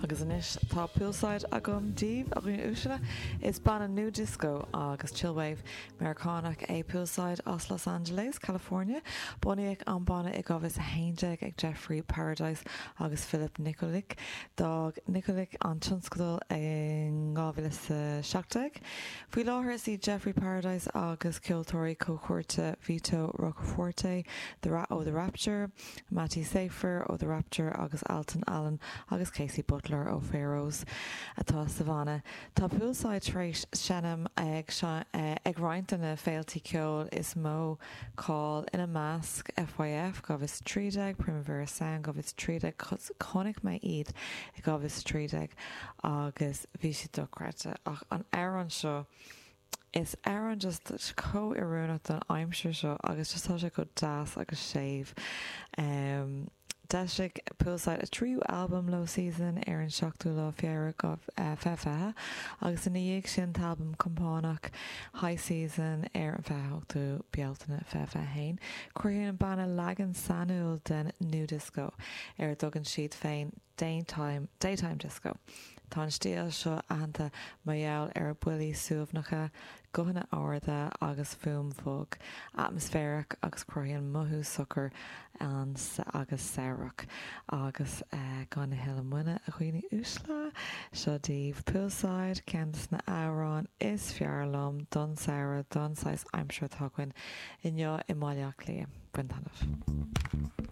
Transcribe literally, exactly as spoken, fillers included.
Agus anois tá Poolside agam daoibh, a dhaoine uaisle. Is banna nu disco agus chillwave Meiriceánach é Poolside as Los Angeles, California. Bunaíodh an banna i dhá mhíle a haon déag ag Jeffrey Paradise agus Philip Nikolic. D'fhág Nikolic an tionscadal in dhá mhíle a seacht déag. Faoi láthair is iad Jeffrey Paradise agus ceoltóirí comhpháirte Vito Roccoforte the Ra ó The Rapture, Matty Safer ó The Rapture agus Alton Allen agus Casey Butler ó Pharaohs atá sa bhanna. Tá Poolside tar éis seinm ag ag roinnt de na féiltí ceoil is mó cáil ina measc FYF dhá mhíle a trí déag, Primavera Sound dhá mhíle a trí déag, chonaic mé iad i dhá mhíle a trí déag agus bhí siad dochreidte ach an amhrán seo is amhrán just chomh oiriúnach don aimsir seo agus just tá sé go deas agus séimh. Um, D'eisigh Poolside a tríú albam Low Season ar an seachtú lá Feabhra fiche fiche agus ina dhiaidh sin an t-albam compánach High Season ar an fiche hochtú Bealtaine fiche fiche haon. Cruthaíonn an banna leagan sainiúil den nu disco ar a dtugann siad féin Daytime, Daytime Disco. Tá an stíl seo aitheanta mar gheall ar a buillí suaimhneacha, guthanna arda agus fuaim bhog, atmaisféarach agus cruthaíonn mothú socair an agus samhradh. Agus gan a thuilleadh moille a dhaoine uaisle, seo daoibh Poolside, ceann de na hamhráin is fearr liom don samhradh don saghas aimsire atá againn inniu i mBaile Átha Cliath. Bain taitneamh.